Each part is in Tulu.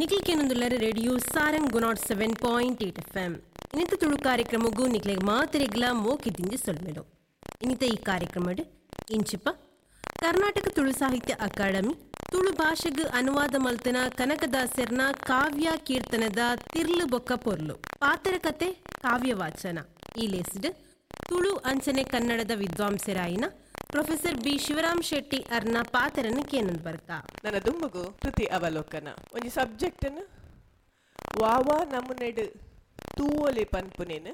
ನಿಕ್ಲಿಕೇನೊಂದುಲ್ಲರ radio Sarang 107.8 FM. ಇನ್ನಿತ ತುಳು ಕಾರ್ಯಕ್ರಮಗೂ ನಿಕ್ಲೆಗ್ ಮಾತೆರೆಗ್ಲಾ ಮೋಕಿದಿಂಜಿ ಸೊಲ್ಮೆಡು. ಇನ್ನಿತ ಈ ಕಾರ್ಯಕ್ರಮಡ್ ಇಂಚಿಪ ಕರ್ನಾಟಕ ತುಳು ಸಾಹಿತ್ಯ ಅಕಾಡೆಮಿ ತುಳು ಭಾಷೆಗ್ ಅನುವಾದ ಮಲ್ತನ ಕನಕದಾಸರ್ನ ಕಾವ್ಯ ಕೀರ್ತನದ ತಿರ್ಲು ಬೊಕ್ಕ ಪೊರ್ಲು ಪಾತರ ಕತೆ ಕಾವ್ಯ ವಾಚನ ಈ ಲೇಸ್ಡ್ ತುಳು ಅಂಚನೆ ಕನ್ನಡದ ವಿದ್ವಾಂಸರಾಯಿನ ಪ್ರೊಫೆಸರ್ ಬಿ ಶಿವರಾಮ್ ಶೆಟ್ಟಿ ಅರ್ನ ಪಾತ್ರನ ಕೇನಂದ್ ಬರ್ತಾ. ನನ್ನ ದುಂಬುಗು ಕೃತಿ ಅವಲೋಕನ ಒಂಜಿ ಸಬ್ಜೆಕ್ಟನ್ನು ವಾವಾ ನಮೂನೆಡ್ ತೂವೊಲಿ ಪನ್ಪುನೇನು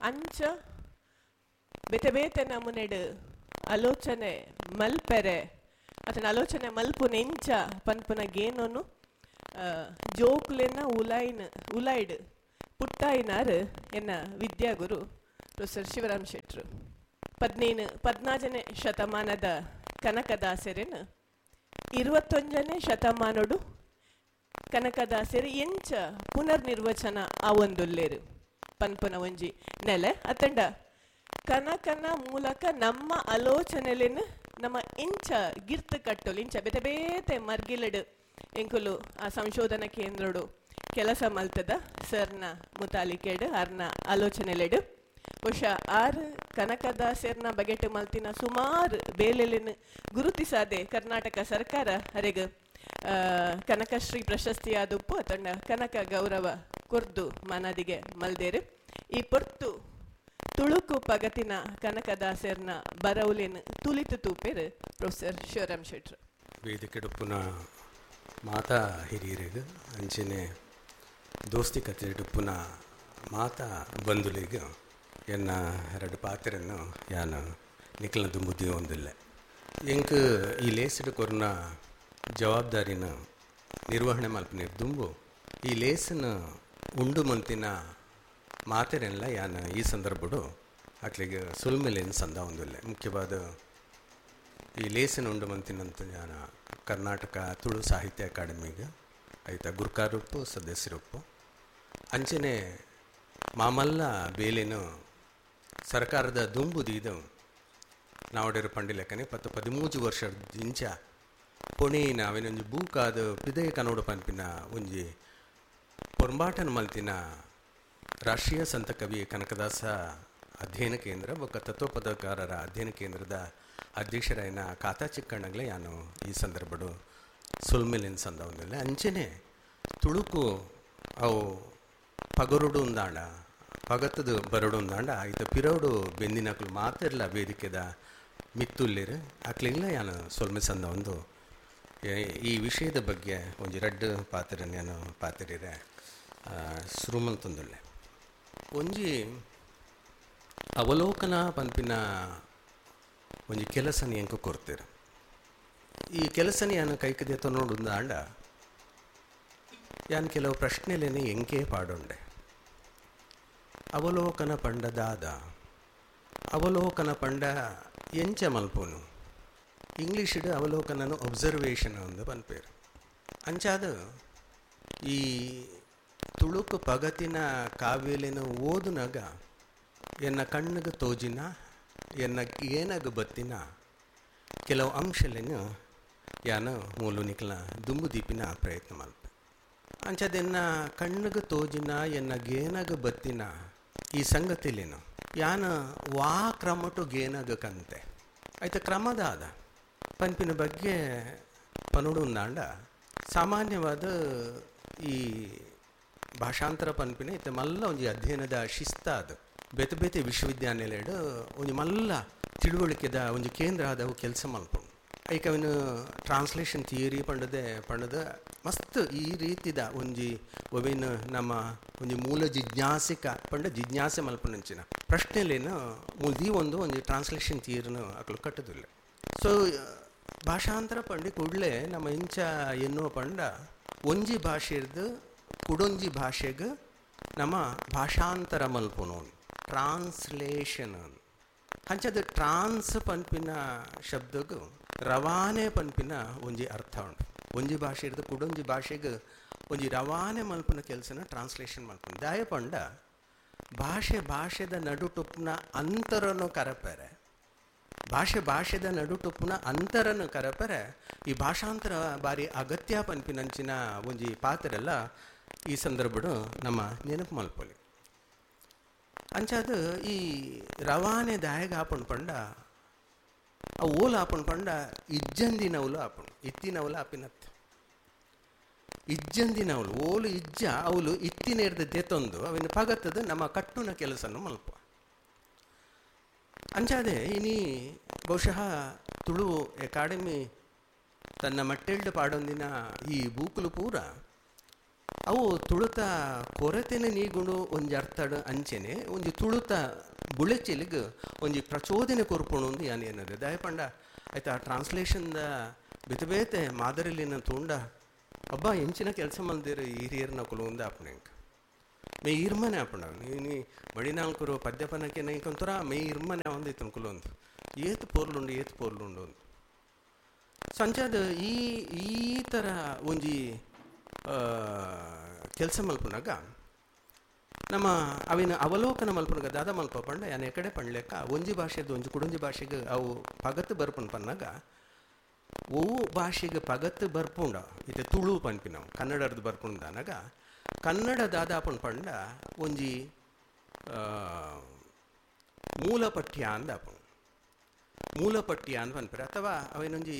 ಅಂಚ ಬೇತೆ ಬೇತೆ ನಮೂನೆಡ್ ಆಲೋಚನೆ ಮಲ್ಪೆರೆ ಅತನ ಆಲೋಚನೆ ಮಲ್ಪುನೆಂಚ ಪನ್ಪುನ ಗೇನೋನು ಜೋಕುಲೆನ ಉಲಾಯಿನ ಉಲಾಯ್ಡ್ ಪುಟ್ಟಾಯಿನಾರ್ ಎನ್ನ ವಿದ್ಯಾಗುರು ಪ್ರೊಫೆಸರ್ ಶಿವರಾಮ್ ಶೆಟ್ರು. 14ನೇ ಶತಮಾನದ ಕನಕದಾಸರೆನ 21ನೇ ಶತಮಾನಡು ಕನಕದಾಸರು ಎಂಚ ಪುನರ್ನಿರ್ವಚನ ಆವೊಂದುಲ್ಲೇರು ಪನ್ಪುನ ಒಂಜಿ ನೆಲೆ ಅತ್ತಂಡ ಕನಕನ ಮೂಲಕ ನಮ್ಮ ಆಲೋಚನೆಲೆನ್ ನಮ್ಮ ಇಂಚ ಗಿರ್ತು ಕಟ್ಟೋಲು ಇಂಚ ಬೇತೆ ಬೇತೆ ಮರ್ಗಿಲಡು ಎಂಕುಲು ಆ ಸಂಶೋಧನಾ ಕೇಂದ್ರಡು ಕೆಲಸ ಮಲ್ತದ ಸರ್ನ ಮುತಾಲಿಕೆಡು ಅರ್ನ ಆಲೋಚನೆಲೆಡು ಬಹುಶಃ ಆರ್ ಕನಕದಾಸರ್ನ ಬಗೆಟ್ ಮಲ್ತಿನ ಸುಮಾರು ಬೇಲೆಲೆನ್ ಗುರುತಿಸಾದೆ ಕರ್ನಾಟಕ ಸರ್ಕಾರ ಅರೆಗ್ ಕನಕಶ್ರೀ ಪ್ರಶಸ್ತಿಯಾದುಪ್ಪು ಅತಂಡ ಕನಕ ಗೌರವ ಕೊರ್ದು ಮನದಿಗೆ ಮಲ್ದೇರು. ಈ ಪೊರ್ತು ತುಳುಕು ಪಗತಿನ ಕನಕದಾಸರ್ನ ಬರವುಲೆನ್ ತುಲಿತು ತೂಪೇರು ಪ್ರೊಫೆಸರ್ ಶಿವರಾಮ್ ಶೆಟ್ರು. ವೇದಿಕೆಡುಪ್ಪುನ ಮಾತಾ ಹಿರಿಯರಿಗೆ ಅಂಚನೆ ದೋಸ್ತಿ ಕತೆಡುಪ್ಪುನ ಮಾತಾ ಬಂಧುಲಿಗೆ ಎನ್ನ ಎರಡು ಪಾತ್ರೆಯನ್ನು ಯಾನ ನಿಖಲ್ನ ದುಂಬುದ್ದಿ ಒಂದಿಲ್ಲ. ಎಂಕ್ ಈ ಲೇಸಿಡು ಕೊರ್ನ ಜವಾಬ್ದಾರಿನ ನಿರ್ವಹಣೆ ಮಲ್ಪನೆ ದುಂಬು ಈ ಲೇಸನ ಉಂಡು ಮಂತಿನ ಮಾತೆರೆಲ್ಲ ಯಾನ ಈ ಸಂದರ್ಭಡು ಅಟ್ಲಿಗೆ ಸುಲ್ಮೆಲೇನು ಸಂದ ಒಂದಿಲ್ಲ. ಮುಖ್ಯವಾದ ಈ ಲೇಸನ ಉಂಡು ಮಂತಿನಂತ ಯಾನ ಕರ್ನಾಟಕ ತುಳು ಸಾಹಿತ್ಯ ಅಕಾಡೆಮಿಗೆ ಆಯ್ತಾ ಗುರ್ಕಾರೊಪ್ಪು ಸದಸ್ಯರೊಪ್ಪು ಅಂಚನೆ ಮಾಮಲ್ಲ ಬೇಲೇನು ಸರ್ಕಾರದ ದುಂಬು ದೀದು ನಾವಡೇರು ಪಂಡಿಲೆಕ್ಕನೆ 13 ವರ್ಷ ಇಂಚ ಪೊಣೆಯಿನ ಅವೆನೊಂಜಿ ಬೂಕಾದ ಪಿದಯ ಕನ್ನಡ ಪನ್ಪಿನ ಒಂಜಿ ಪೊರ್ಂಬಾಟನ ಮಲ್ತಿನ ರಾಷ್ಟ್ರೀಯ ಸಂತ ಕವಿ ಕನಕದಾಸ ಅಧ್ಯಯನ ಕೇಂದ್ರ ಬೊಕ್ಕ ತತ್ವಪದಕಾರರ ಅಧ್ಯಯನ ಕೇಂದ್ರದ ಅಧ್ಯಕ್ಷರಾಯನ ಖಾತಾ ಚಿಕ್ಕಣ್ಣಗ್ಲೆ ಯಾನು ಈ ಸಂದರ್ಭಡು ಸುಲ್ಮೆಲಿನ ಸಂದ ಒಂದಿಲ್ಲ. ಅಂಚನೆ ತುಳುಕು ಅವು ಪಗರುಡು ಉಂದಾಂಡ ಪಗತ್ತದು ಬರಡು ಉಂದಾಂಡ ಆಯ್ತು ಪಿರೋಡು ಬೆಂದಿನಕ್ಲು ಮಾತಿರಲ್ಲ ವೇದಿಕೆದ ಮಿತ್ತುಲ್ಲಿರು ಅಕ್ಲಿಂಗ್ಲ ಯಾನು ಸೊಲ್ಮೆ ಸಂದ ಒಂದು ಈ ವಿಷಯದ ಬಗ್ಗೆ ಒಂಜಿ ರಡ್ಡು ಪಾತ್ರ ನಾನು ಪಾತ್ರಿರೆ ಸುರುಮಲ್ತೊಂದುಲ್ಲೆ. ಒಂಜಿ ಅವಲೋಕನ ಪನ್ಪಿನ ಒಂಜಿ ಕೆಲಸನ ಎಂಕ ಕೊರ್ತೀರ. ಈ ಕೆಲಸನ ಯಾನು ಕೈಕದೆ ತೊನ್ನೋಡುಂದಾಂಡ ಯಾನು ಕೆಲವು ಪ್ರಶ್ನೆಲೇನೆ ಎಂಕೇ ಪಾಡೊಂಡೆ. ಅವಲೋಕನ ಪಂಡ ದಾದ, ಅವಲೋಕನ ಪಂಡ ಎಂಚ ಮಲ್ಪೋನು, ಇಂಗ್ಲೀಷಿಡು ಅವಲೋಕನನು ಒಬ್ಸರ್ವೇಷನ್ ಒಂದು ಪನ್ಪೇರು. ಅಂಚಾದ ಈ ತುಳುಕು ಪಗತಿನ ಕಾವ್ಯಲೇನು ಓದುನಾಗ ಎನ್ನ ಕಣ್ಣಿಗೆ ತೋಜಿನ ಎನ್ನ ಏನಾಗ ಬತ್ತಿನ ಕೆಲವು ಅಂಶಲೇನು ಯಾನು ಮೂಲು ನಿಕ್ಲ ದುಂಬು ದೀಪಿನ ಪ್ರಯತ್ನ ಮಲ್ಪೆ. ಅಂಚದೆನ್ನ ಕಣ್ಣಿಗೆ ತೋಜಿನ ಎನ್ನ ಗೇನಾಗ ಬತ್ತಿನ ಈ ಸಂಗತಿಲೇನು ಯಾನ ವಾ ಕ್ರಮಟು ಗೇನಾಗ ಕಂತೆ ಆಯ್ತು ಕ್ರಮದಾದ ಪನ್ಪಿನ ಬಗ್ಗೆ ಪನುಡು ಉಂದಾಂಡ ಸಾಮಾನ್ಯವಾದ ಈ ಭಾಷಾಂತರ ಪನ್ಪಿನ ಇತ್ತೆ ಮಲ್ಲ ಒಂಜಿ ಅಧ್ಯಯನದ ಶಿಸ್ತ ಅದು ಬೇತೆ ಬೇತೆ ವಿಶ್ವವಿದ್ಯಾನಿಲಯಡು ಒಂಜಿ ಮಲ್ಲ ತಿಳುವಳಿಕೆದ ಒಂಜಿ ಕೇಂದ್ರ ಆದವು ಕೆಲಸ ಮಲ್ಪುಂಡು. ಐಕ ಅವನು ಟ್ರಾನ್ಸ್ಲೇಷನ್ ಥಿಯರಿ ಪಂಡದೆ ಪಂಡದ ಮಸ್ತ್ ಈ ರೀತಿದ ಒಂಜಿ ಒವೇನು ನಮ್ಮ ಒಂಜಿ ಮೂಲ ಜಿಜ್ಞಾಸಿಕ ಪಂಡ ಜಿಜ್ಞಾಸೆ ಮಲ್ಪುನಂಚಿನ ಪ್ರಶ್ನೆಲೇನು ಮೂಲ್ದಿ ಒಂದು ಒಂಜಿ ಟ್ರಾನ್ಸ್ಲೇಷನ್ ಥಿಯರಿನ ಅಕಲು ಕಟ್ಟದಿಲ್ಲ. ಸೊ ಭಾಷಾಂತರ ಪಂಡಿ ಕೂಡಲೇ ನಮ್ಮ ಇಂಚ ಎನ್ನುವ ಪಂಡ ಒಂಜಿ ಭಾಷೆರ್ದು ಕುಡೊಂಜಿ ಭಾಷೆಗೆ ನಮ್ಮ ಭಾಷಾಂತರ ಮಲ್ಪುನು ಟ್ರಾನ್ಸ್ಲೇಷನ್. ಅಂಚದ ಟ್ರಾನ್ಸ್ ಪನ್ಪಿನ ಶಬ್ದಗೂ ರವಾನೆ ಪನ್ಪಿನ ಒಂಜಿ ಅರ್ಥ ಉಂಟು. ಒಂಜಿ ಭಾಷೆ ಇರ್ದು ಕುಡೊಂಜಿ ಭಾಷೆಗೆ ಒಂಜಿ ರವಾನೆ ಮಲ್ಪುನ ಕೆಲಸನ ಟ್ರಾನ್ಸ್ಲೇಷನ್ ಮಲ್ಪುನ. ದಾಯ ಪಂಡ ಭಾಷೆ ಭಾಷೆದ ನಡುಟುಪ್ನ ಅಂತರನು ಕರಪೆರೆ, ಭಾಷೆ ಭಾಷೆದ ನಡುಟುಪ್ಪುನ ಅಂತರನು ಕರಪರೆ ಈ ಭಾಷಾಂತರ ಬಾರಿ ಅಗತ್ಯ ಪನ್ಪಿನಂಚಿನ ಒಂಜಿ ಪಾತ್ರೆಲ್ಲ ಈ ಸಂದರ್ಭಡು ನಮ್ಮ ನೆನಪು ಮಲ್ಪೊಲಿ. ಅಂಚಾದ ಈ ರವಾನೆ ದಾಯಗ ಆಪುಂಡು ಪಂಡ ಅವು ಓಲು ಆಪುಂಡು ಪಂಡ ಇಜ್ಜಂದಿನವುಲು ಆಪುಂಡು, ಇತ್ತಿನವುಲು ಆಪಿನತ್ತು. ಇಜ್ಜಂದಿನವಳು ಓಲು ಇಜ್ಜ ಅವಳು ಇತ್ತಿನೇರ್ದ ದೆತ್ತೊಂದು ಅವಿನ ಪಗತ್ತದ ನಮ್ಮ ಕಟ್ಟುನ ಕೆಲಸನು ಮಲ್ಪ. ಅಂಚಾದೆ ಇನಿ ಬಹುಶಃ ತುಳು ಅಕಾಡೆಮಿ ತನ್ನ ಮಟ್ಟೆಲ್ಡು ಪಾಡೊಂದಿನ ಈ ಬೂಕುಲು ಪೂರ ಅವು ತುಳುತ ಕೊರತೆನೆ ನೀಗುಂಡು ಒಂಜಿ ಅರ್ಥಡು ಅಂಚೆನೆ ಒಂಜಿ ತುಳುತ ಬುಳೆಚಿಲಿಗ್ ಒಂಜಿ ಪ್ರಚೋದನೆ ಕೊರ್ಪುಣು ಒಂದು ಯಾನ್ ಏನದೆ ದಯಪಂಡ ಆಯ್ತಾ. ಟ್ರಾನ್ಸ್ಲೇಷನ್ದ ಬೇತೆ ಬೇತೆ ಮಾದರಿಲಿನ ತೂಂಡ ಅಬ್ಬ ಎಂಚಿನ ಕೆಲಸ ಮಲ್ದಿರು ಹಿರಿಯರ್ನ ಕುಲುಂದ ಆಪುಣೆಂಕ್ ಮೇ ಇರ್ಮನೆ ಆಪುಂಡ ನೀ ಮಡಿನಾಲ್ಕರು ಪದ್ಯಪನಕ್ಕೆ ನೈಕೊಂತರ ಮೇ ಇರ್ಮನೆ ಒಂದಿತ್ತು ಕುಲೊಂದು ಏತ್ ಪೋರ್ಲುಂಡು ಏತ್ ಪೋರ್ಲುಂಡು ಅಂದು. ಸಂಚಾದ ಈ ಈ ಥರ ಒಂಜಿ ಕೆಲಸ ಮಲ್ಪುನಾಗ ನಮ್ಮ ಅವಿನ ಅವಲೋಕನ ಮಲ್ಪುನಾಗ ದಾದ ಮಲ್ಪ ಪಂಡ ಯಾನ್ ಎಕಡೆ ಪಂಡ್ಲೆಕ್ಕ ಒಂಜಿ ಭಾಷೆದು ಒಂಜಿ ಕುಡೊಂಜಿ ಭಾಷೆಗೆ ಅವು ಪಗತ್ತು ಬರ್ಪುಂಡು ಪನ್ನಾಗ ಒವು ಭಾಷೆಗೆ ಪಗತ್ತು ಬರ್ಪುಂಡ ಇತ್ತೆ ತುಳು ಪನ್ಪಿನವು ಕನ್ನಡರ್ದು ಬರ್ಪುಂಡಾನಾಗ ಕನ್ನಡ ದಾದಾಪುಂಡು ಪಂಡ ಒಂಜಿ ಮೂಲ ಪಠ್ಯ ಅಂದಾಪುಂಡು, ಮೂಲ ಪಠ್ಯ ಅಂತ ಪನ್ಪಿರ ಅಥವಾ ಅವೇನೊಂಜಿ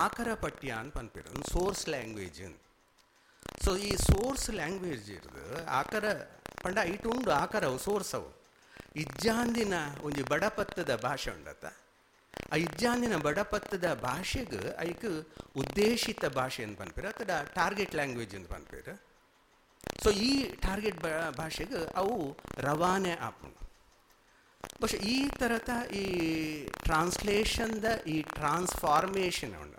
ಆಕರ ಪಠ್ಯ ಅಂತ ಪನ್ಪಿರ, ಒಂದು ಸೋರ್ಸ್ ಲ್ಯಾಂಗ್ವೇಜ್ ಅಂತ. ಸೊ ಈ ಸೋರ್ಸ್ ಲ್ಯಾಂಗ್ವೇಜ್ ಇರ್ದು ಆಕರ ಪಂಡ ಐಟು ಉಂಡು ಆಕರ ಅವು ಸೋರ್ಸ್ ಅವು ಇಜ್ಜಾಂದಿನ ಒಂಜಿ ಬಡಪತ್ತದ ಭಾಷೆ ಉಂಡತ್ತ. ಆ ಇಜ್ಜಾಂದಿನ ಬಡಪತ್ತದ ಭಾಷೆಗೆ ಐಕ್ ಉದ್ದೇಶಿತ ಭಾಷೆ ಅಂತ ಪನ್ಪಿರ ಅಥವಾ ಟಾರ್ಗೆಟ್ ಲ್ಯಾಂಗ್ವೇಜ್ ಅಂತ ಪನ್ಪಿರ. ಸೊ ಈ ಟಾರ್ಗೆಟ್ ಭಾಷೆಗೆ ಅವು ರವಾನೆ ಆಪುಂಡು. ಬಹುಶಃ ಈ ಥರದ ಈ ಟ್ರಾನ್ಸ್ಲೇಷನ್ದ ಈ ಟ್ರಾನ್ಸ್ಫಾರ್ಮೇಷನ್ ಉಂಡ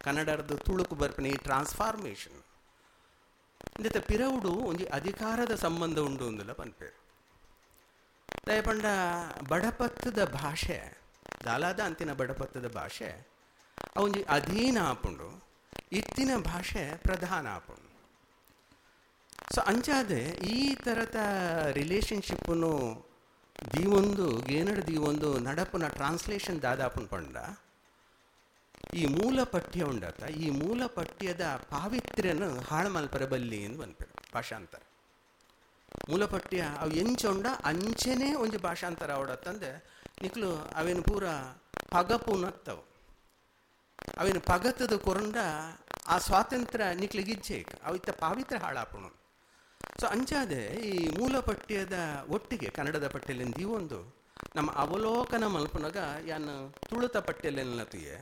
ಕನ್ನಡದ ತುಳುಕು ಬರ್ಪಿನ ಈ ಟ್ರಾನ್ಸ್ಫಾರ್ಮೇಷನ್ ಇಂದೆತ ಪಿರವುಡು ಒಂಜಿ ಅಧಿಕಾರದ ಸಂಬಂಧ ಉಂಡು ಅಂದಲ ಪನ್ಪೇರು. ದಯಪಂಡ ಬಡಪತ್ತದ ಭಾಷೆ ದಾಲಾದ ಅಂತಿನ ಬಡಪತ್ತದ ಭಾಷೆ ಅವೊಂಜಿ ಅಧೀನ ಆಪುಂಡು, ಇತ್ತಿನ ಭಾಷೆ ಪ್ರಧಾನ ಆಪುಂಡು. ಸೊ ಅಂಚಾದೆ ಈ ಥರದ ರಿಲೇಷನ್ಶಿಪ್ಪನ್ನು ದೀವೊಂದು ಗೇನಡ್ ದೀವೊಂದು ನಡಪುನ ಟ್ರಾನ್ಸ್ಲೇಷನ್ ದಾದಾಪುಂಡು ಪಂಡ ಈ ಮೂಲ ಪಠ್ಯ ಉಂಡತ್ತ ಈ ಮೂಲ ಪಠ್ಯದ ಪಾವಿತ್ರ್ಯನ ಹಾಳು ಮಲ್ಪರ ಬಲ್ಲಿ ಎಂದು ಪನ್ಪೆರು ಭಾಷಾಂತರ. ಮೂಲ ಪಠ್ಯ ಅವು ಎಂಚ ಉಂಡ ಅಂಚೆನೇ ಒಂಜಿ ಭಾಷಾಂತರ ಅವಡತ್ತಂದೆ ನಿಕ್ಲು ಅವೇನು ಪೂರ ಪಗಪುನತ್ತವು ಅವೇನು ಪಗತದ ಕೊರಂಡ ಆ ಸ್ವಾತಂತ್ರ್ಯ ನಿಕ್ಲಿಗಿಜ್ಜೆ ಅವು ಇತ್ತ ಪಾವಿತ್ರ್ಯ ಹಾಳಾಪುಣು. ಸೊ ಅಂಚಾದೆ ಈ ಮೂಲ ಪಠ್ಯದ ಒಟ್ಟಿಗೆ ಕನ್ನಡದ ಪಠ್ಯಲಿಂದ ಒಂದು ನಮ್ಮ ಅವಲೋಕನ ಮಲ್ಪುನಾಗ ಯಾನ್ ತುಳುತ ಪಠ್ಯಲೆನ್ನತಿಯೇ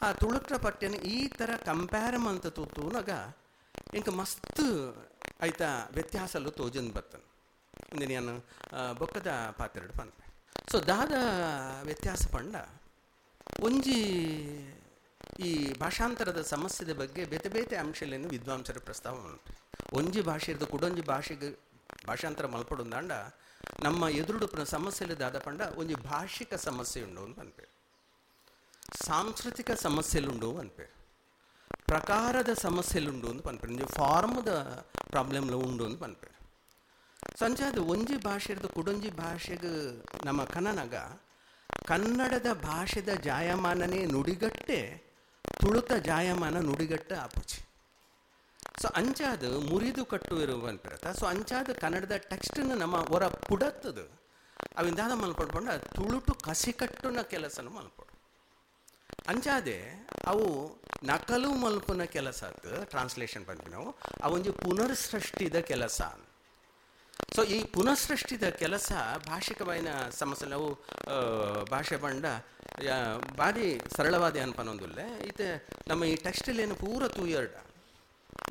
ಆ ತುಳುತ ಪಠ್ಯನ ಈ ಥರ ಕಂಪೇರ್ ಅಂತ ತೂತೂನಾಗ ಇಂಕ ಮಸ್ತ್ ಆಯ್ತಾ ವ್ಯತ್ಯಾಸಲು ತೋಜನ್ ಬರ್ತನ ಇಂದಿನ ಯಾನು ಬೊಕ್ಕದ ಪಾತ್ರೆಡು ಪನ್ಪೆ. ಸೊ ದಾದ ವ್ಯತ್ಯಾಸ ಪಂಡ ಒಂಜಿ ಈ ಭಾಷಾಂತರದ ಸಮಸ್ಯೆದ ಬಗ್ಗೆ ಬೇತೆ ಬೇತೆ ಅಂಶಗಳನ್ನು ವಿದ್ವಾಂಸರ ಪ್ರಸ್ತಾವ ಉಂಟು. ಒಂಜಿ ಭಾಷೆದು ಕುಡೊಂಜಿ ಭಾಷೆಗೆ ಭಾಷಾಂತರ ಮಲ್ಪಡುಂದಾಂಡ ನಮ್ಮ ಎದುರುಡು ಸಮಸ್ಯೆಲಿ ದಾದ ಪಂಡ ಒಂಜಿ ಭಾಷಿಕ ಸಮಸ್ಯೆ ಉಂಡು ಅಂತ ಪನ್ಪೆ, ಸಾಂಸ್ಕೃತಿಕ ಸಮಸ್ಯೆಲುಂಡು ಅನ್ಪೆ, ಪ್ರಕಾರದ ಸಮಸ್ಯೆಲುಂಡು ಅಂತ ಪನ್ಪೆ, ಒಂಜಿ ಫಾರ್ಮ್ದ ಪ್ರಾಬ್ಲಮ್ಲು ಉಂಡು ಅಂತ ಪನ್ಪೆ. ಸಂಚಾದ ಒಂಜಿ ಭಾಷೆದು ಕುಡೊಂಜಿ ಭಾಷೆಗೆ ನಮ್ಮ ಕನ್ನನಾಗ ಕನ್ನಡದ ಭಾಷೆದ ಜಾಯಮಾನನೇ ನುಡಿಗಟ್ಟೆ ತುಳುತ ಜಾಯಮಾನ ನುಡಿಗಟ್ಟೆ ಆಪುಚಿ. ಸೊ ಅಂಚಾದ ಮುರಿದು ಕಟ್ಟು ಇರುವ ಅನ್ಪಿರತ್ತ. ಸೊ ಅಂಚಾದ ಕನ್ನಡದ ಟೆಕ್ಸ್ಟನ್ನು ನಮ್ಮ ಹೊರ ಪುಡತ್ತದು ಅವಿಂದಾದ ಮಲ್ಪಡ್ಕೊಂಡ ತುಳುಟು ಕಸಿಕಟ್ಟುನ ಕೆಲಸನ ಮಲ್ಪಡು. ಅಂಚಾದೆ ಅವು ನಕಲು ಮಲ್ಪುನ ಕೆಲಸ ಆತು ಟ್ರಾನ್ಸ್ಲೇಷನ್ ಪನ್ಪಿ ನಾವು ಅವೊಂಜಿ ಪುನರ್ಸೃಷ್ಟಿದ ಕೆಲಸ. ಸೊ ಈ ಪುನಃಸೃಷ್ಟಿದ ಕೆಲಸ ಭಾಷಿಕವಾಯಿನ ಸಮಸ್ಯೆ ನಾವು ಭಾಷೆ ಪಂಡ ಭಾರಿ ಸರಳವಾದ ಅನ್ಪನೊಂದುಲ್ಲೆ ಇತ್ತೆ ನಮ್ಮ ಈ ಟೆಕ್ಸ್ಟೈಲ್ ಪೂರ ತೂಯರ್ಡ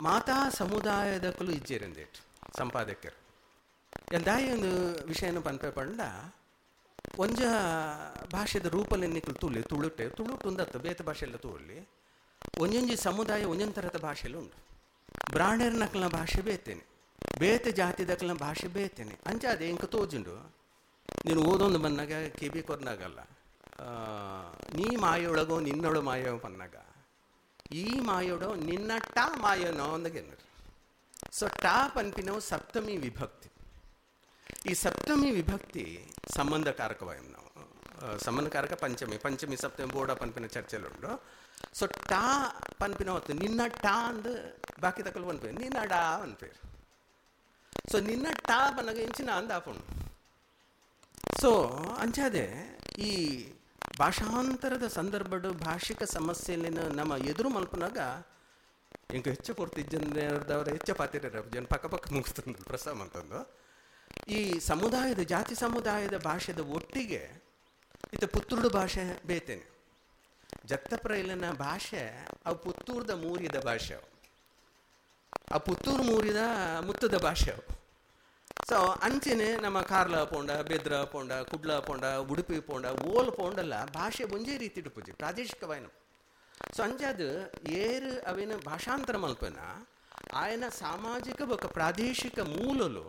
ಮಾತಾ ಸಮುದಾಯದಕ್ಕೂ ಇಜ್ಜೇರಿಂದೇಟ್ ಸಂಪಾದಕರು ಎಂದಾಯಿ ಒಂದು ವಿಷಯನ ಪನ್ಪೆ ಪಂಡ ಒಂಜ ಭಾಷೆದ ರೂಪಲ್ಲಿ ನಿಕ್ಲು ತುಳಿ ತುಳುಟೆ ತುಳುಟು ಉಂದತ್ತು ಬೇತೆ ಭಾಷೆಲ್ಲ ತೂಲಿ ಒಂಜೊಂಜಿ ಸಮುದಾಯ ಒಂಜೊಂದು ಥರದ ಭಾಷೆಯಲ್ಲಿ ಉಂಟು. ಬ್ರಾಹ್ಮಣರ ಭಾಷೆ ಬೇತೇನೆ, ಬೇತೆ ಜಾತಿದಕ್ಲನ ಭಾಷೆ ಬೇತೇನೆ. ಅಂಚಾದೆ ಇಂಕ ತೋಜುಂಡು ನೀನು ಓದೊಂದು ಬಂದಾಗ ಕಿವಿ ಕೊರ್ನಾಗಲ್ಲ ನೀ ಮಾಯೊಳಗೋ ನಿನ್ನೊಳು ಮಾಯೋ ಪನ್ನಾಗ ಈ ಮಾಯೋಡೋ ನಿನ್ನ ಟಾ ಮಾಯನೋ ಅಂದಾಗೇನು. ಸೊ ಟಾ ಪನ್ಪಿನವು ಸಪ್ತಮಿ ವಿಭಕ್ತಿ. ಈ ಸಪ್ತಮಿ ವಿಭಕ್ತಿ ಸಂಬಂಧಕಾರಕವಾಯ ನಾವು ಸಮನ್ಕಾರಕ ಪಂಚಮಿ ಪಂಚಮಿ ಸಪ್ತಮಿ ಬೋಡ ಪನ್ಪಿನ ಚರ್ಚೆಲುಂಡು. ಸೊ ಟಾ ಪನ್ಪಿನ ಹೊತ್ತು ನಿನ್ನ ಟಾ ಅಂದು ಬಾಕಿ ತಕಲು ಪನ್ಪೇರು, ನಿನ್ನ ಡಾ ಅನ್ಪೇರು. ಸೊ ನಿನ್ನ ಟಾ ಪನ್ನಗ ಇಂಚಿನ ಅಂದ ಆಪುಂಡು. ಸೊ ಅಂಚಾದೆ ಈ ಭಾಷಾಂತರದ ಸಂದರ್ಭಡು ಭಾಷಿಕ ಸಮಸ್ಯೆಯನ್ನು ನಮ್ಮ ಎದುರು ಮಲ್ಪನಾಗ ಇಂಕ ಹೆಚ್ಚು ಪೂರ್ತಿ ಜನದವರ ಹೆಚ್ಚು ಪಾತಿರ ಜನ ಪಕ್ಕ ಪಕ್ಕ ಮುಗಿಸ್ತಂದು ಪ್ರಸ್ತಾವ ಅಂತಂದು ಈ ಸಮುದಾಯದ ಜಾತಿ ಸಮುದಾಯದ ಭಾಷೆದ ಒಟ್ಟಿಗೆ ಇತ್ತ ಪುತ್ತೂರು ಭಾಷೆ ಬೇತೇನೆ. ಜತ್ತಪ್ರೈಲನ ಭಾಷೆ ಅವು ಪುತ್ತೂರ್ದ ಮೂರಿದ ಭಾಷೆ, ಅವು ಆ ಪುತ್ತೂರು ಮೂರಿದ ಮುತ್ತದ ಭಾಷೆ ಅವು. ಸೊ ಅಂಚೆನೆ ನಮ್ಮ ಕಾರ್ಲ ಪೋಂಡ, ಬೆದ್ರ ಪೋಂಡ, ಕುಡ್ಲ ಪೋಂಡ, ಉಡುಪಿ ಪೋಂಡ, ಓಲ್ ಪೋಂಡಲ್ಲ ಭಾಷೆ ಒಂಜೇ ರೀತಿ ಇಡುಪುಜಿ ಪ್ರಾದೇಶಿಕವಾಯಿನ. ಸೊ ಅಂಚಾದ ಏರು ಅವೇನ ಭಾಷಾಂತರ ಮಲ್ಪನ ಆಯನ ಸಾಮಾಜಿಕ ಬೊಕ ಪ್ರಾದೇಶಿಕ ಮೂಲಲು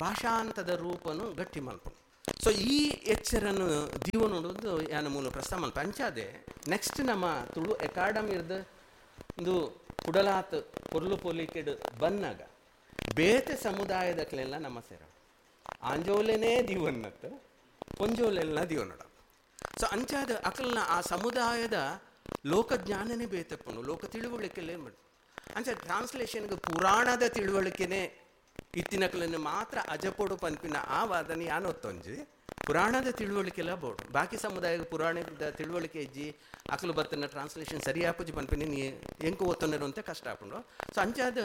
ಭಾಷಾಂತದ ರೂಪನು ಗಟ್ಟಿ ಮಲ್ಪನು. ಸೊ ಈ ಎಚ್ಚರನ್ನು ದೀವ ನೋಡೋದು ಯಾನ ಮೂಲ ಪ್ರಸ್ತಾವ ಮಲ್ಪ. ಅಂಚಾದೆ ನೆಕ್ಸ್ಟ್ ನಮ್ಮ ತುಳು ಅಕಾಡೆಮಿ ಇರ್ದ ಒಂದು ಕುಡಲಾತ್ ಪೊರ್ಲು ಪೊಲಿಕೆಡು ಬನ್ನಾಗ ಬೇತೆ ಸಮುದಾಯದಕ್ಲೆಲ್ಲ ನಮ್ಮ ಸೇರ ಆಂಜೋಲೆನೇ ದೀವನ್ನತ್ತು ಪೊಂಜೋಲೆಲ್ಲ ದೀವನೋಡ. ಸೊ ಅಂಚಾದ ಅಕಲ್ನ ಆ ಸಮುದಾಯದ ಲೋಕಜ್ಞಾನನೇ ಬೇತಪ್ಪನು, ಲೋಕ ತಿಳುವಳಿಕೆಲ್ಲೇ ಮಾಡಿ ಅಂಚ ಟ್ರಾನ್ಸ್ಲೇಷನ್ಗೆ ಪುರಾಣದ ತಿಳುವಳಿಕೆನೇ ಇತ್ತಿನಕಲನ್ನು ಮಾತ್ರ ಅಜಪೊಡು ಪನ್ಪಿನ ಆ ವಾದನೆ ಯಾನೊತ್ತೊಂಜಿ ಪುರಾಣದ ತಿಳುವಳಿಕೆಲ್ಲ ಬೋಡು ಬಾಕಿ ಸಮುದಾಯದ ಪುರಾಣದ ತಿಳುವಳಿಕೆ ಇಜ್ಜಿ ಅಕಲು ಬರ್ತನ ಟ್ರಾನ್ಸ್ಲೇಷನ್ ಸರಿ ಆಪುಜಿ ಪನ್ಪಿನ ನೀ ಎಂಕು ಒತ್ತೊಂದಿರುವಂತೆ ಕಷ್ಟ ಆಪುಂಡು. ಸೊ ಅಂಚಾದ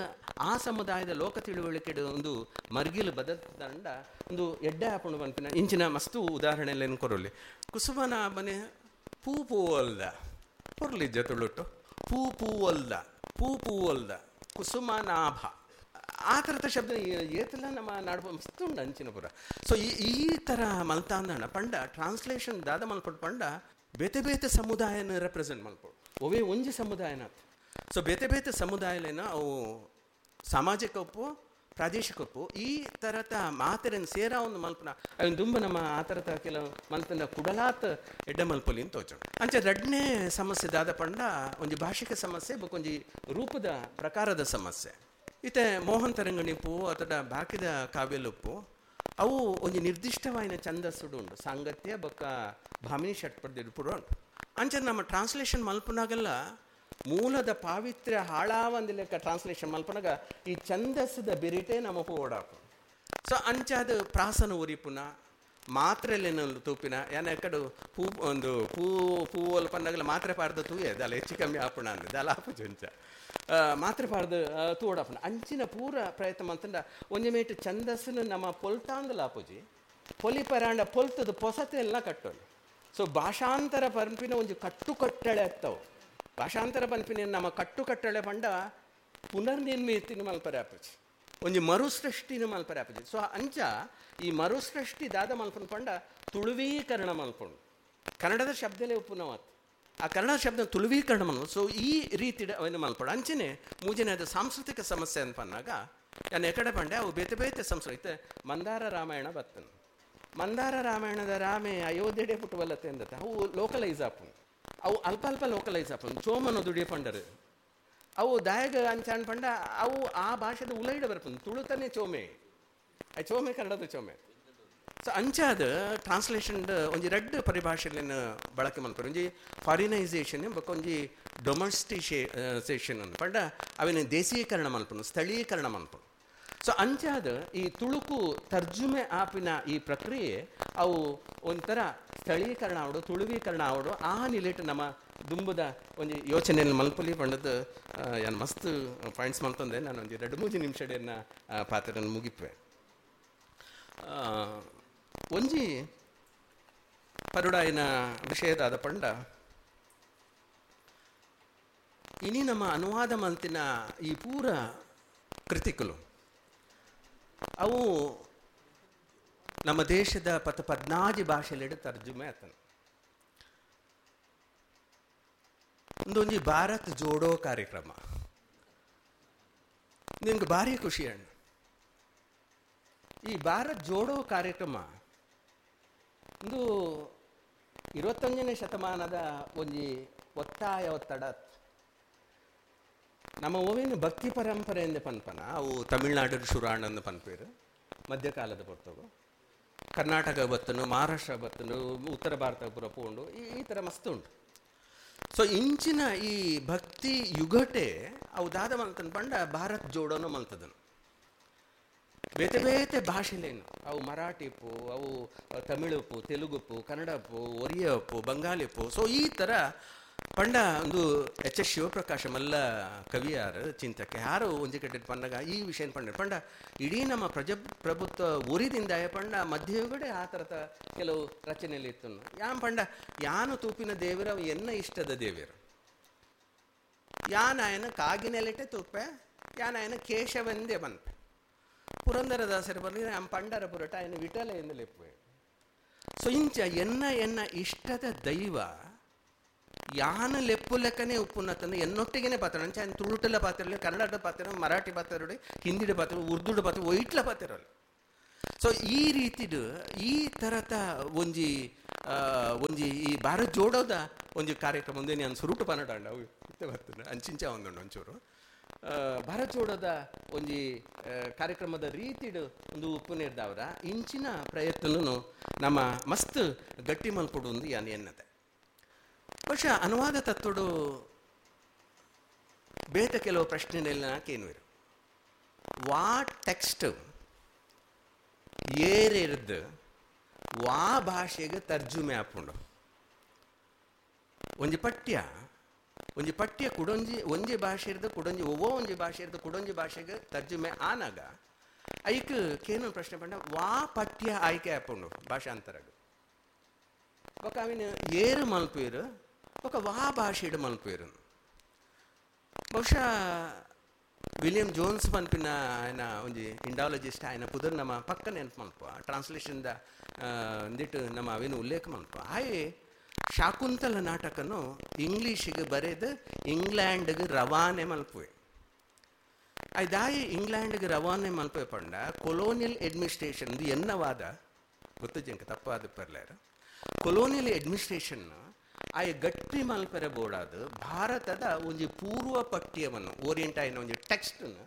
ಆ ಸಮುದಾಯದ ಲೋಕ ತಿಳುವಳಿಕೆ ಒಂದು ಮರ್ಗಿಲು ಬದಲ್ತಂಡ ಒಂದು ಎಡ್ಡೆ ಆಪುಂಡು ಪನ್ಪಿನ ಇಂಚಿನ ಮಸ್ತು ಉದಾಹರಣೆಲ್ಲ ಕೊರೊಲಿ. ಕುಸುಮನ ಮನೆ ಪೂ ಪೂವಲ್ದ ಪೊರ್ಲಿಜ್ಜ ತುಳುಟು ಪೂ ಪೂವಲ್ದ ಪೂ ಪೂವಲ್ದ ಕುಸುಮನಾಭ ಆ ಥರದ ಶಬ್ದ ಏತೆಲ್ಲ ನಮ್ಮ ನಾಡು ಮಸ್ತು ಉಂಡು ಅಂಚಿನ ಪುರ. ಸೊ ಈ ಥರ ಮಲ್ತಾಂದಣ ಪಂಡ ಟ್ರಾನ್ಸ್ಲೇಷನ್ ದಾದ ಮಲ್ಪಡು ಪಂಡ ಬೇತೆ ಬೇತೆ ಸಮುದಾಯನ ರೆಪ್ರೆಸೆಂಟ್ ಮಲ್ಪಡು ಒವೇ ಒಂಜಿ ಸಮುದಾಯನ. ಸೊ ಬೇತೆ ಬೇತೆ ಸಮುದಾಯಲೇನ ಅವು ಸಾಮಾಜಿಕ ಒಪ್ಪು ಪ್ರಾದೇಶಿಕ ಒಪ್ಪು ಈ ಥರದ ಮಾತೆರನ್ನು ಸೇರ ಒಂದು ಮಲ್ಪನ ಅವನ್ ದುಂಬ ನಮ್ಮ ಆ ಥರದ ಕೆಲವು ಮಲ್ತನ ಕುಡಲಾತ್ ಎಡ್ಡೆ ಮಲ್ಪೊಲಿ ಅಂತ ತೋಚು. ಅಂಚೆ ರಡ್ನೇ ಸಮಸ್ಯೆ ದಾದ ಪಂಡ ಒಂಜಿ ಭಾಷಿಕ ಸಮಸ್ಯೆ ಬೊಕೊಂಜಿ ರೂಪದ ಪ್ರಕಾರದ ಸಮಸ್ಯೆ. ಇತ್ತೆ ಮೋಹನ್ ತರಂಗಣಿಪು ಅಥವಾ ಬಾಕಿದ ಕಾವ್ಯಲುಪ್ಪು ಅವು ಒಂಜಿ ನಿರ್ದಿಷ್ಟವಾಯಿನ ಛಂದಸ್ಸುಡು ಉಂಡು ಸಾಂಗತ್ಯ ಬೊಕ್ಕ ಭಾಮಿನಿ ಷಟ್ಪದಿಡುಪುಡು ಉಂಟು. ಅಂಚೆ ನಮ್ಮ ಟ್ರಾನ್ಸ್ಲೇಷನ್ ಮಲ್ಪನಾಗೆಲ್ಲ ಮೂಲದ ಪಾವಿತ್ರ್ಯ ಹಾಳಾವಂದಿ ಲೆಕ್ಕ ಟ್ರಾನ್ಸ್ಲೇಷನ್ ಮಲ್ಪನಾಗ ಈ ಛಂದಸ್ಸದ ಬಿರಿಟೆ ನಮ್ಮ ಓಡಾಪು. ಸೊ ಅಂಚಾದ ಪ್ರಾಸನ ಉರಿಪುನ ಮಾತ್ರೆಲೇನ ತೂಪಿನ ಯಾನ ಕಡು ಪೂ ಒಂದು ಪೂ ಪೂವಲ್ ಪನ್ನಾಗಲ ಮಾತ್ರೆ ಪಾಡ್ದ ತೂಯೆ ದಾಲ ಹೆಚ್ಚು ಕಮ್ಮಿ ಆಪುಣ ಅಂದ ದಾಲ ಆಪುಜು ಅಂಚ ಮಾತ್ರೆ ಪಾಡ್ದು ತೂಡಾಪುಣ ಅಂಚಿನ ಪೂರ ಪ್ರಯತ್ನ ಮಂತಂಡ ಒಂಜಿ ಮೇಟ್ ಛಂದಸ್ಸನ್ನು ನಮ್ಮ ಪೊಲ್ತಾಂದಲ ಆಪುಜಿ ಪೊಲಿ ಪರಾಂಡ ಪೊಲ್ತದ ಪೊಸತೆ ಎಲ್ಲ ಕಟ್ಟೋದು. ಸೊ ಭಾಷಾಂತರ ಪಂಪಿನ ಒಂಜಿ ಕಟ್ಟುಕಟ್ಟಳೆ ಆಗ್ತಾವೆ. ಭಾಷಾಂತರ ಪಂಪಿನ ನಮ್ಮ ಕಟ್ಟುಕಟ್ಟಳೆ ಪಂಡ ಪುನರ್ನಿರ್ಮಿತಿನ ಮಲ್ಪರೆ ಆಪುಜಿ ಒಂಜಿ ಮರುಸೃಷ್ಟಿನ ಮಲ್ಪರೆ ಆಪುಜಿ. ಸೊ ಅಂಚ ಈ ಮರುಸೃಷ್ಟಿ ದಾದ ಮಲ್ಪನ ಪಂಡ ತುಳುವೀಕರಣ ಮಲ್ಪುಂಡು ಕನ್ನಡದ ಶಬ್ದಲೇ ಉಪ್ಪುನವಾತ್ ಆ ಕನ್ನಡ ಶಬ್ದ ತುಳುವೀಕರಣ ಮಲ್ಪು. ಸೊ ಈ ರೀತಿ ಅವನು ಮಲ್ಪಡು. ಅಂಚನೆ ಮೂಜನೇದ ಸಾಂಸ್ಕೃತಿಕ ಸಮಸ್ಯೆ ಅನ್ಪನ್ನಾಗ ನಾನು ಎಕಡೆ ಪಂಡೆ ಅವು ಬೇತೆ ಬೇತೆ ಸಂಸ್ಕೃತಿ ಮಂದಾರ ರಾಮಾಯಣ ಬರ್ತನು. ಮಂದಾರ ರಾಮಾಯಣದ ರಾಮೆ ಅಯೋಧ್ಯೆಡೆ ಪುಟ್ಟುವಲ್ಲತೆ ಅಂದತ್ತೆ ಅವು ಲೋಕಲೈಸ್ ಆಪುಂಡು ಅವು ಅಲ್ಪ ಅಲ್ಪ ಲೋಕಲೈಸ್ ಆಪುಂಡು ಚೋಮನ ದುಡಿಯ ಪಂಡರು ಅವು ದಾಯಗ ಅಂಚಾನ್ ಪಂಡ ಅವು ಆ ಭಾಷೆದ ಉಲೈಡ ಬರ್ಪುಂಡು ತುಳುತನೇ ಚೋಮೆ ಆ ಚೋಮೆ ಕನ್ನಡದ ಚೋಮೆ. ಸೊ ಅಂಚಾದ ಟ್ರಾನ್ಸ್ಲೇಷನ್ ಒಂಜಿ ರಡ್ಡ್ ಪರಿಭಾಷೆಲೆನ್ ಬಳಕೆ ಮಲ್ಪೆರ್ ಒಂಜಿ ಫಾರಿನೈಸೇಷನ್ ಬೊಕ್ಕ ಒಂಜಿ ಡೊಮೆಸ್ಟಿಸೇಷನ್ ಅಂದ್ ಪಂಡ ಅವೆನ್ ದೇಶೀಕರಣ ಮಲ್ಪುನು ಸ್ಥಳೀಕರಣ ಮಲ್ಪುನು. ಸೊ ಅಂಚಾದ ಈ ತುಳುಕು ತರ್ಜುಮೆ ಆಪಿನ ಈ ಪ್ರಕ್ರಿಯೆ ಅವು ಒಂಥರ ಸ್ಥಳೀಕರಣ ಆವಡು ತುಳುವೀಕರಣ ಆವಡು ಆ ನಿಲೆಟ್ ನಮ್ಮ ದುಂಬುದ ಒಂಜಿ ಯೋಚನೆಯನ್ನು ಮಲ್ಪಲಿ ಪಂಡದ ಯಾನ್ ಮಸ್ತ್ ಪಾಯಿಂಟ್ಸ್ ಮಲ್ತಂದೆ ನಾನು ಒಂಜಿ 2-3 ನಿಮಿಷಡೆಯನ್ನ ಪಾತ್ರನ ಮುಗಿಪೆ. ಒಂಜಿ ಪರುಡಾಯಿನ ವಿಷಯದಾದ ಪಂಡ ಇನಿ ನಮ್ಮ ಅನುವಾದ ಮಲ್ತಿನ ಈ ಪೂರ ಕೃತಿಕಲು ಅವು ನಮ್ಮ ದೇಶದ 14 ಭಾಷೆಲೆಡ್ ತರ್ಜುಮೆ ಆತನ. ಒಂದೊಂಜಿ ಭಾರತ್ ಜೋಡೋ ಕಾರ್ಯಕ್ರಮ ನಿಮ್ಗೆ ಭಾರಿ ಖುಷಿ ಅಣ್ಣ. ಈ ಭಾರತ್ ಜೋಡೋ ಕಾರ್ಯಕ್ರಮ ಒಂದು 21ನೇ ಶತಮಾನದ ಒಂಜಿ ಒತ್ತಾಯ ಒತ್ತಡ. ನಮ್ಮ ಓವೇನು ಭಕ್ತಿ ಪರಂಪರೆ ಎಂದೆ ಪನ್ಪನ ಅವು ತಮಿಳ್ನಾಡು ಶುರಾಣಂದು ಪನ್ಪೇರು ಮಧ್ಯಕಾಲದ ಪೊರ್ತಗು. ಕರ್ನಾಟಕ ಬತ್ತನು, ಮಹಾರಾಷ್ಟ್ರ ಬತ್ತನು, ಉತ್ತರ ಭಾರತ ಪೂರ ಪೋಂಡು, ಈ ಥರ ಮಸ್ತ್ ಉಂಟು. ಸೊ ಇಂಚಿನ ಈ ಭಕ್ತಿ ಯುಗಟೆ ಅವು ದಾದ ಮಲ್ತನ ಪಂಡ ಭಾರತ್ ಜೋಡೋನು ಮಲ್ತದನು. ಬೇತೆ ಬೇತೆ ಭಾಷೆಲೇನು ಅವು ಮರಾಠಿಪ್ಪು, ಅವು ತಮಿಳುಪ್ಪು, ತೆಲುಗುಪ್ಪು, ಕನ್ನಡಪ್ಪು, ಒರಿಯಪ್ಪು, ಬಂಗಾಲಿಪ್ಪು. ಸೊ ಈ ಥರ ಪಂಡ ಒಂದು ಎಚ್ ಎಸ್ ಶಿವಪ್ರಕಾಶ ಮಲ್ಲ ಕವಿಯಾರು ಚಿಂತಕ್ಕೆ ಯಾರು ಒಂಜಿ ಕಡೆ ಪಂಡಗ ಈ ವಿಷಯ ಪಂಡ ಪಂಡ ಇಡೀ ನಮ್ಮ ಪ್ರಜಾಪ್ರಭುತ್ವ ಉರಿದಿಂದ ಪಂಡ ಮಧ್ಯಯುಗಡೆ ಆ ಥರದ ಕೆಲವು ರಚನೆಯಲ್ಲಿ ಇತ್ತು. ಯಾನ್ ಪಂಡ ಯಾನು ತೂಪಿನ ದೇವರ ಎನ್ನ ಇಷ್ಟದ ದೇವರು, ಯಾನಾಯನ ಕಾಗಿನೆಲೆಟೆ ತೂಪೆ, ಯಾನಾಯನ ಕೇಶವೆಂದೇ ಬಂತೆ. ಪುರಂದರದಾಸರು ಬರಲಿ ನಮ್ಮ ಪಂಡರ ಪುರಟ ಆಯನ ವಿಠಲ ಎಂದು ಲೆಪ್ಪುವೆ. ಸೊ ಇಂಚ ಎನ್ನ ಎನ್ನ ಇಷ್ಟದ ದೈವ ಯಾನ ಲೆಪ್ಪು ಲೆಕ್ಕನೇ ಉಪ್ಪುನ್ನತನ ಎನ್ನೊಟ್ಟಿಗೆನೆ ಪಾತ್ರ ಅಂಚ ఆయన ತುಳುಟಲ ಪಾತ್ರ, ಕನ್ನಡದ ಪಾತ್ರ, ಮರಾಠಿ ಪಾತ್ರ, ಹಿಂದಿಡ ಪಾತ್ರ, ಉರ್ದುಡ ಪಾತ್ರ, ಒಯ್ಟ್ಲ ಪಾತ್ರ. ಸೊ ಈ ರೀತಿಡು ಈ ಥರದ ಒಂಜಿ ಒಂಜಿ ಈ ಭಾರತ್ ಜೋಡೋದ ಒಂಜಿ ಕಾರ್ಯಕ್ರಮ ಒಂದೇ ನಾನು ಸುರುಟು ಪನ್ನಡ ಅವು ಇತ್ತೆ ಬರ್ತದೆ ಅಂಚಿಂಚ ಒಂದುಂಡು ಒಂಚೂರು ಭಾರತ್ ಜೋಡೋದ ಒಂಜಿ ಕಾರ್ಯಕ್ರಮದ ರೀತಿಡು ಒಂದು ಉಪ್ಪುನೇರ್ದವರ ಇಂಚಿನ ಪ್ರಯತ್ನನು ನಮ್ಮ ಮಸ್ತ್ ಗಟ್ಟಿ ಮಲ್ಪಡು ಒಂದು ಯಾನ್ ಎನ್ನತೆ. ಬಹುಶಃ ಅನುವಾದ ತತ್ವಡು ಬೇತ ಕೆಲವು ಪ್ರಶ್ನೆನೆಲ್ಲ ಕೇನುವಿರು. ವಾ ಟೆಕ್ಸ್ಟ್ ಏರಿರ್ದು ವಾ ಭಾಷೆಗೆ ತರ್ಜುಮೆ ಆಪುಂಡು. ಒಂಜಿ ಪಠ್ಯ ಒಂಜಿ ಪಠ್ಯ ಕುಡೊಂಜಿ ಒಂಜಿ ಭಾಷೆ ಇರ್ದು ಕುಡೊಂಜಿ ಒವ್ವೋ ಒಂಜಿ ಭಾಷೆ ಇರ್ದು ಕುಡೊಂಜಿ ಭಾಷೆಗೆ ತರ್ಜುಮೆ ಆನಾಗ ಐಕ್ ಕೇನು ಪ್ರಶ್ನೆ ಪಂಡ ವಾ ಪಠ್ಯ ಆಯ್ಕೆ ಆಪುಂಡು ಭಾಷಾಂತರಗ್. ಬೊಕ ಅವಿನ ಏರು ಮಲ್ಪೇರು ಬೊಕ ವಾ ಭಾಷೆಡ್ ಮಲ್ಪೇರು. ಬಹುಶಃ ವಿಲಿಯಂ ಜೋನ್ಸ್ ಪನ್ಪಿನ ఆయన ಒಂಜಿ ಇಂಡಾಲಜಿಸ್ಟ್ ఆయన ಪುದರ್ ನಮ್ಮ ಪಕ್ಕ ನೆನಪು ಮಲ್ಪ ಟ್ರಾನ್ಸ್ಲೇಷನ್ದ ಒಂದಿಟ್ಟು ನಮ್ಮ ಅವೇನು ಉಲ್ಲೇಖ ಮಲ್ಪ. ಆಯೆ ಶಾಕುಂತಲ ನಾಟಕನು ಇಂಗ್ಲೀಷಿಗೆ ಬರೆದು ಇಂಗ್ಲೆಂಡ್ಗೆ ರವಾನೆ ಮಲ್ಪುವೆ. ಆಯ್ದಾಯಿ ಇಂಗ್ಲೆಂಡ್ಗೆ ರವಾನೆ ಮಲ್ಪುವೆ ಪಂಡ ಕೊಲೋನಿಯಲ್ ಅಡ್ಮಿನಿಸ್ಟ್ರೇಷನ್ ಎನ್ನವಾದ ಗೊತ್ತು ಜಂಕ ತಪ್ಪಾದ ಪರ್ಲೇರ ಕೊಲೋನಿಯಲ್ ಅಡ್ಮಿನಿಸ್ಟ್ರೇಷನ್ ಆಯ ಗಟ್ಟಿ ಮಲ್ಪೆರೆ ಬೋಡಾದ ಭಾರತದ ಒಂಜಿ ಪೂರ್ವ ಪಠ್ಯವನ್ನು ಓರಿಯಂಟ್ ಆಯಿನ ಒಂಜಿ ಟೆಕ್ಸ್ಟನ್ನು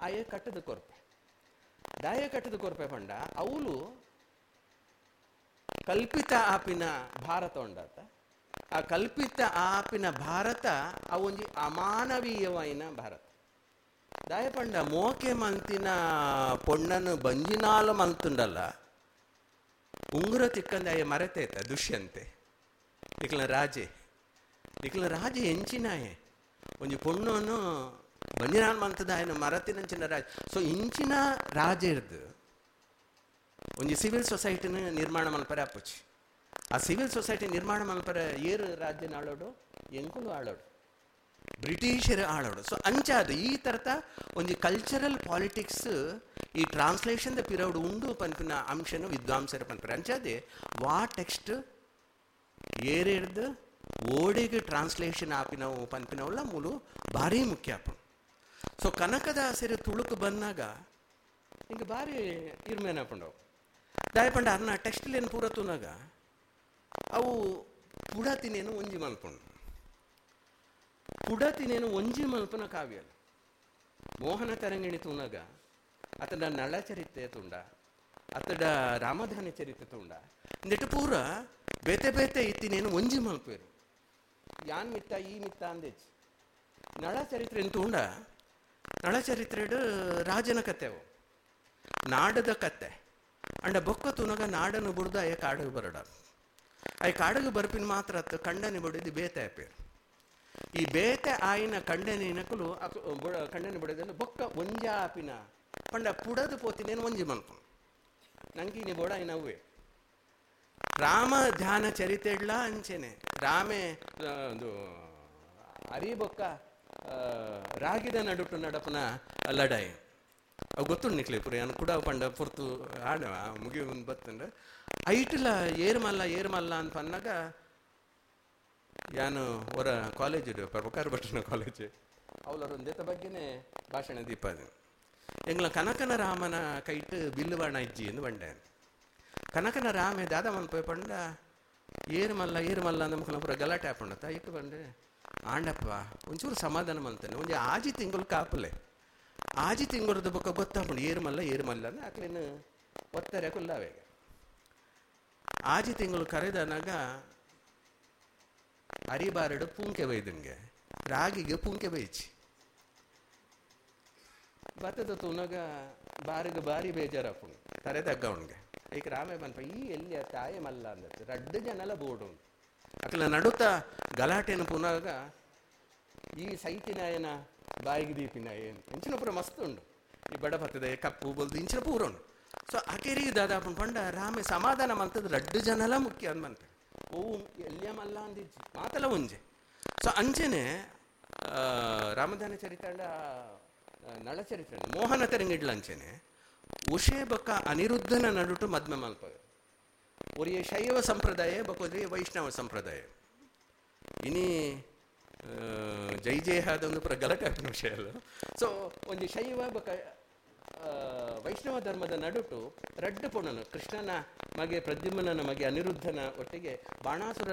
ಆಯ ಕಟ್ಟದ ಕೊರ್ಪೆ. ದಾಯ ಕಟ್ಟದ ಕೊರ್ಪೆ ಪಂಡ ಅವಳು ಕಲ್ಪಿತ ಆಪಿನ ಭಾರತ ಉಂಡಾತ. ಆ ಕಲ್ಪಿತ ಆಪಿನ ಭಾರತ ಅವೊಂಜಿ ಅಮಾನವೀಯವಾಯಿನ ಭಾರತ. ದಾಯ ಪಂಡ ಮೋಕೆ ಮಂತಿನ ಪೊಣ್ಣನು ಬಂಜಿನಾಲ ಮಲ್ತುಂಡಲ್ಲ ಉಂಗುರ ತಿಕ್ಕಂದ ಆಯ ಮರೆತೇತ ದುಷ್ಯಂತೆ ನಿಕ್ಲ ರಾಜೆ ನಿಕ್ಲ ರಾಜೆ ಎಂಚಿನಾಯೆ ಒಂಜಿ ಪೊಣ್ಣನು ಬಂಜಿನಾಲ್ ಮಂತದ ಆಯನ ಮರತಿನಂಚಿನ ರಾಜ. ಸೊ ಇಂಚಿನ ರಾಜೆರ್ದು ಒಂಜಿ ಸಿವಿಲ್ ಸೊಸೈಟಿನ ನಿರ್ಮಾಣ ಮಲ್ಪರೆ ಅಪ್ಪುಚಿ. ಆ ಸಿವಿಲ್ ಸೊಸೈಟಿ ನಿರ್ಮಾಣ ಮಲ್ಪರೆ ಏರು ರಾಜ್ಯನ ಆಳೋಡು ಎಂಕುಲು ಆಳೋಡು ಬ್ರಿಟಿಷರು ಆಳೋಡು. ಸೊ ಅಂಚಾದ ಈ ಥರದ ಒಂಜಿ ಕಲ್ಚರಲ್ ಪಾಲಿಟಿಕ್ಸ್ ಈ ಟ್ರಾನ್ಸ್ಲೇಷನ್ the ಪಿರೌಡ್ ಉಂಡು ಪನ್ಪಿನ ಅಂಶನು ವಿದ್ವಾಂಸರ ಪನ್ಪರೆ. ಅಂಚಾದೆ ವಾ ಟೆಕ್ಸ್ಟ್ ಏರೇರ್ದು ಓಡಿಗೆ ಟ್ರಾನ್ಸ್ಲೇಷನ್ ಆಪಿನವು ಪನ್ಪಿನವಲ್ಲ ಮೂಲು ಭಾರಿ ಮುಖ್ಯ ಆಪುಂಡು. ಸೊ ಕನಕದಾಸರು ತುಳುಕು ಬಂದಾಗ ಹಿಂಗೆ ಭಾರಿ ಇರ್ಮೇನಪುಂಡವು. ದಾಯಪಂಡ ಅರ್ನ ಟೆಕ್ಸ್ಟ್ಲೇನು ಪೂರ ತೂನಾಗ ಅವು ಪುಡತಿನೇನು ಒಂಜಿ ಮಲ್ಪುಂಡು. ಪುಡತಿನೇನು ಒಂಜಿ ಮಲ್ಪನ ಕಾವ್ಯ ಅಲ್ಲ. ಮೋಹನ ತರಂಗಿಣಿ ತೂನಾಗ ಅತಡ ನಳಚರಿತ್ರೆ ತುಂಡ, ಅತಡ ರಾಮಧಾನಿ ಚರಿತ್ರೆ ತುಂಡ, ನೆಟ್ಟು ಪೂರ ಬೇತೆ ಬೇತೆ ಇತ್ತಿನೇನು ಒಂಜಿ ಮಲ್ಪೇರು. ಯಾನ್ ಮಿತ್ತ ಈ ಮಿತ್ತ ಅಂದೇಚ್ ನಳಚರಿತ್ರೆ ತುಂಡ. ನಳಚರಿತ್ರೆಡು ರಾಜನ ಕತೆವು ನಾಡದ ಕತೆ. ಅಂಡ ಬೊಕ್ಕ ತುನಗ ನಾಡನ್ನು ಬುಡ್ದು ಅಯ್ಯ ಕಾಡಗೆ ಬರಡ. ಅಯ್ಯ ಕಾಡಗೆ ಬರ್ಪಿನ ಮಾತ್ರ ಅತ್ತು ಕಂಡನೆ ಬಡಿದು ಬೇತೆ ಆಪೇರು. ಈ ಬೇತೆ ಆಯಿನ ಕಂಡನೆ ನಕಲು ಕಂಡನೆ ಬಡಿದಲ್ಲ ಬೊಕ್ಕ ಒಂಜ ಆಪಿನ ಪಂಡ ಪುಡದು ಪೋತಿನೇನು ಒಂಜಿ ಮಲ್ಪು ನಂಗೆ ಬೋಡ ಅವೇ ರಾಮ ಧ್ಯಾನ ಚರಿತೆಡ್ಲ ಅಂಚೆನೆ ರಾಮೆ ಒಂದು ಅರಿಬೊಕ್ಕ ರಾಗಿದ ನಡುಟು ನಡಪನ ಲಡಾಯಿ ಅವು ಗೊತ್ತುಂಡು ನಿಕ್ಲೆ ಪುರಿ ಅನ್ ಕೂಡ ಪಂಡ ಪೊರ್ತು ಆಡ ಮುಗಿ ಒಂದು ಬತ್ತಂದ್ರೆ ಐಟ್ಲ ಏರ್ಮಲ್ಲ ಏರ್ಮಲ್ಲ ಅಂತ ಅನ್ನಾಗ ಯಾನು ಹೊರ ಕಾಲೇಜ್ ಪ್ರಭಾಕರ್ ಭಟ್ರನ ಕಾಲೇಜ್ ಅವಲರ ಒಂದೇತ ಬಗ್ಗೆನೇ ಭಾಷಣ ದೀಪ ಅದು ಎಂಗ್ಲ ಕನಕನ ರಾಮನ ಕೈಟ್ ಬಿಲ್ಲುವಣ ಇಜ್ಜಿ ಎಂದು ಬಂಡೆ. ಕನಕನ ರಾಮೆ ದಾದ ಮನ್ಪೋಯ್ ಪಂಡ ಏರ್ಮಲ್ಲ ಏರ್ಮಲ್ಲ ಅಂದ ಮುಖನ ಪೂರ ಗಲಾಟೆ ಹಾಕೊಂಡತ್ತ ಇಟ್ಟು ಬಂಡೆ ಆಂಡಪ್ಪ ಒಂಚೂರು ಸಮಾಧಾನ ಮಂತಾನೆ ಒಂಜಿ ಆಜಿ ತಿಂಗಳು ಕಾಪಲೆ ಆಜಿ ತಿಂಗಳದ ಬೊಕ್ಕ ಗೊತ್ತಾಪುಂಡು ಏರ್ಮಲ್ಲ ಏರ್ಮಲ್ಲ ಅಂದ್ರೆ ಆಕ್ಲೇನು ಒತ್ತಾರೆ ಕುಲ್ಲಾವೇಗ. ಆಜಿ ತಿಂಗಳು ಕರೆದನಾಗ ಅರಿಬಾರಡು ಪೂಂಕೆ ಬೈದಂಗೆ ರಾಗಿಗೆ ಪೂಂಕೆ ಬೈಚಿ ಬತ್ತದ ತೂನಗ ಬಾರಿಗೆ ಬಾರಿ ಬೇಜಾರಪ್ಪುಂಡು ತರೆ ತಗ್ಗವನ್ಗೆ ಈಗ ರಾಮೆ ಬಂತ ಈ ಎಲ್ಲಿ ತಾಯಿ ಮಲ್ಲ ಅಂದತ್ತು ರಡ್ಡು ಜನಲ ಬೋಡು ಅಕಲ ನಡುತ ಗಲಾಟೆನ ಪುನಗ ಈ ಸೈತಿನಾಯನ ಬಾಯಿಗೆ ದೀಪಿನಾಯ ಇಂಚಿನ ಪೂರ ಮಸ್ತ್ ಉಂಡು. ಈ ಬಡ ಬತ್ತದ ಕಪ್ಪು ಬೊಲ್ದು ಇಂಚಿನ ಪೂರ ಉಂಡು. ಸೊ ಅಕೆರಿಗೆ ದಾದಾಪುಂಡು ಪಂಡ ರಾಮೆ ಸಮಾಧಾನ ಮಂತದ ರಡ್ಡು ಜನಲ ಮುಖ್ಯ ಅಂದ್ಮಂತೆ ಓ ಎಲ್ಲಿಯ ಮಲ್ಲ ಅಂದಿಜ್ಜಿ ಮಾತಲ ಒಂಜೆ. ಸೊ ಅಂಚೆನೆ ರಾಮದಾನ ಚರಿತಾಂಡ ನಳಚರಿತ್ರೆ ಮೋಹನ ತೆರಂಗಿಡ್ಲ ಅಂಚೆನೆ ಉಷೆ ಬೊಕ್ಕ ಅನಿರುದ್ಧನ ನಡುಟು ಮದ್ಮೆ ಮಲ್ಪ ಒರಿಯ ಶೈವ ಸಂಪ್ರದಾಯ ಬೊಕೊದ್ರಿ ವೈಷ್ಣವ ಸಂಪ್ರದಾಯ. ಇನಿ ಜೈ ಜಯ ಒಂದು ಪೂರ ಗಲಾಟೆ ಆಪಿನ ವಿಷಯ ಅಲ್ಲ. ಸೊ ಒಂಜಿ ಶೈವ ಬೊಕ್ಕ ವೈಷ್ಣವ ಧರ್ಮದ ನಡುಟು ರಡ್ಡು ಪೊಣ್ಣನು ಕೃಷ್ಣನ ಮಗೆ ಪ್ರದ್ಯುಮ್ನ ಮಗೆ ಅನಿರುದ್ಧನ ಒಟ್ಟಿಗೆ ಬಾಣಾಸುರ